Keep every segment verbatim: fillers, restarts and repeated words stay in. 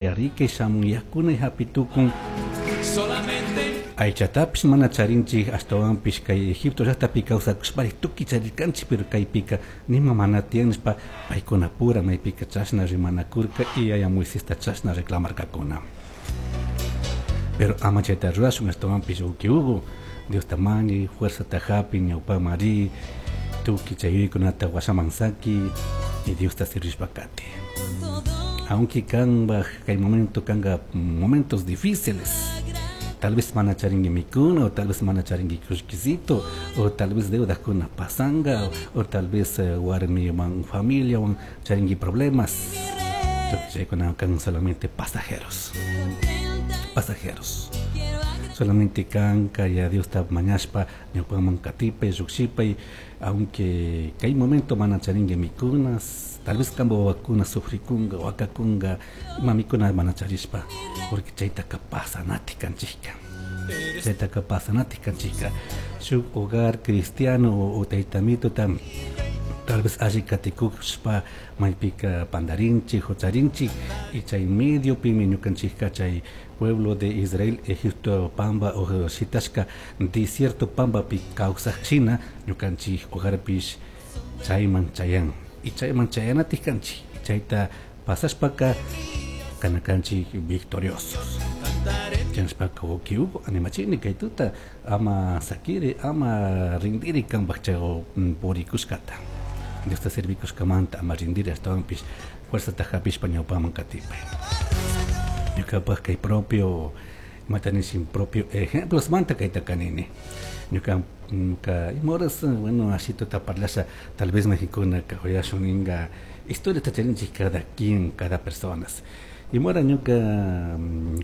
Yarikay shamun yakuna hapitukun. Solamente Aychatapish mana charinchik, ashtawanpish kay Egipto llaqtapi kawsakushpari tukuy charirkanchik, pero kaypika nima mana tiyan nishpa paykunapura maypika chashna rimanakurka y yaya Moisesta chashna reclamarkakuna. Pero ama chayta rurashun, ashtawanpish uki Hugo, Diosta mañay, fuerzata hapi, ñawpaman ri, tukuy chay yuyaykunata washaman saki y Diosta sirvishpa kati. Aunque kanpaj kay momento kanga momentos difíciles, tal vez mana charinki mikuna, o tal vez mana charinki kullkisito, o tal vez deudakuna pasanga, o, o tal vez eh, warmiwan familiawan charinki problemas. Tukuy chaykuna kan solamente pasajeros, pasajeros. Solamente kanka ya Diosta mañashpa ñawpaman katipay, llukshipay, aunque kay momento mana charinki mikunas, tal vez kanpa wawakuna sufrikunga, wakakunga, ima mikuna mana charishpa, porque chaytaka pasanati kanchikka. Chaytaka pasanati kanchikka. Shuk hogar cristiano o, o taytamituta tal vez alli katikushpa maypika pandarinchik, hucharinchik, y chay mediopimi ñukanchikka chay pueblo de Israel, Egipto pamba o shitashka desierto pambapi kawsaj shina ñukanchik hogarpish chayman chayan. Y chayman chayanatik kanchik. Chayta pasashpaka kanakanchik victoriosos. Chanshpaka uki Hugo animachini kay tuta ama sakiri, ama rindiri kanpaj chay purikushkata. Diosta servikushkamanta ama rindiri, ashtawanpish fuerzata hapishpa ñawpaman katipay. Ñukapaj kay propio, imata nishin propio ejemplos manta kayta kanini. Ñuka, ñuka ima horas, bueno, ashituta parlasha, tal vez mayjikuna uyashun ninga historia charinchik cada quien, cada personas. Ima hora ñuka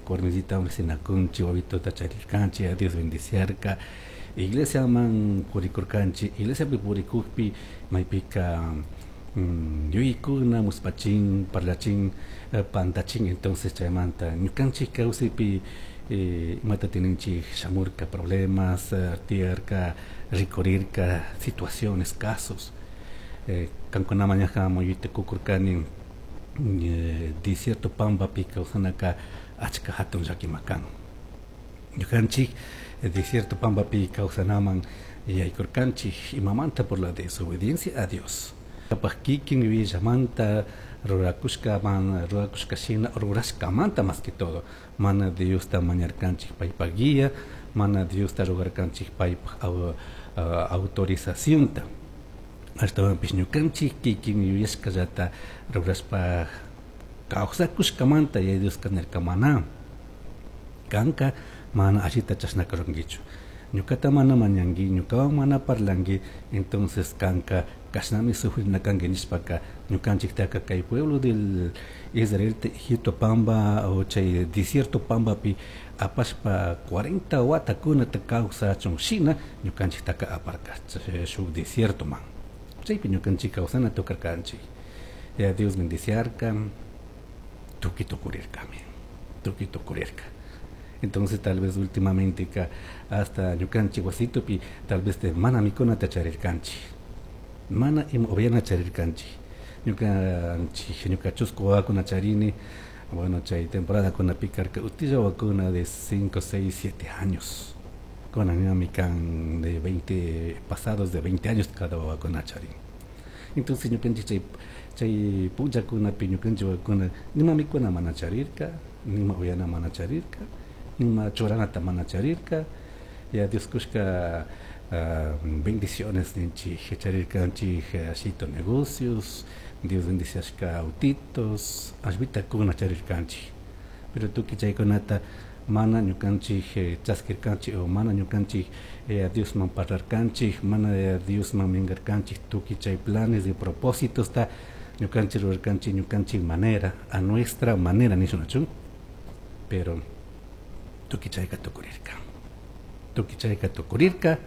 warmisita riksinakunchik, wawituta charirkanchik, a Dios bendiciarka, iglesiaman purikurkanchik, iglesiapi purikukpi maypika mm, yuyaykuna muspachin, parlachin, eh, pantachin, entonces chaymanta ñukanchik kawsaypi eh, imata tininchik shamurka problemas, eh, tiyarka, rikurirka situaciones, casos. Eh, kankunaman ñaja muyuyta kukurkani eh, desierto pambapi kawsanaka achka hatun llakima kan. Ñukanchik eh, desierto pambapi kawsanaman yaykurkanchik imamanta por la desobediencia a Dios. Kapaj kikin yuyallamanta rurakushkaman, rurakushka shina, rurashkamanta más que todo. Mana Diosta mañarkanchik paypak guía, mana Diosta rogarkanchik paypak au, uh, autorizacionta. Ashtawanpish ñukanchik kikin yuyashkallata rurashpa kawsakushkamanta Yaya Dioska nirka mana kanka mana allita chashnaka rurankichu. Ñukata mana mañanki, ñukawan mana parlanki, entonces kanka kashnami sufrina kanki nishpaka ñukanchiktaka kay pueblo del Israel Egipto pamba o chay desierto pambapi apashpa cuarenta watakunata kawsachun shina ñukanchiktaka aparka shuk desiertoman. Chaypi ñukanchik kawsana tukarkanchik. Ya Dios bendiciarka, tukuy tukurirkami, tukuy tukurirka. Entonces tal vez últimamente ka hasta ñukanchik wasitupi tal vez te mana mikunata charirkanchik, mana ima upiana charirkanchik. Ñukanchik ñuka chusku wawakuna charini, bueno, chay temporada kunapi karka utilla wawakuna de cinco, seis, siete años. Kunan ñami kan de veinte, pasados de veinte años cada wawakuna charin. Entonces ñukanchik chay, chay punllakunapi ñukanchik wawakuna nima mikuna mana charirka, nima upiana mana charirka, nima churanata mana charirka. Ya Dios kushka, uh, bendiciones ninchik charirkanchik ashito negocios, Dios bendiciashka autitos, ashvita kuna charirkanchik. Pero tukuy chaykunata mana ñukanchik, eh, chaskirkanchik o mana ñukanchik, eh, Diosman parlarkanchik, mana Diosman mingarkanchik tukuy chay planes y propósitos ta ñukanchik rurarkanchik ñukanchik manera, a nuestra manera nishunachu. Pero tukuy chayka tukurirka. Tukuy chayka tukurirka.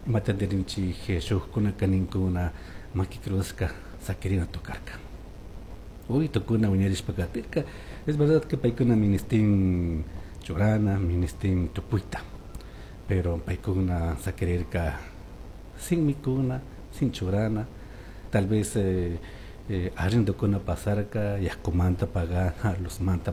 Imata nirinchik shukkunaka ninkuna maki cruzka sakirina tokarka. Uy, tukuna wiñarishpa katirka. Es verdad que paykuna ministin churana, ministin tupuita, pero paykuna sakirirka sin mikuna, sin churana, tal vez, eh, eh, arrendokuna pasarka, yakumanta pagana, luzmanta.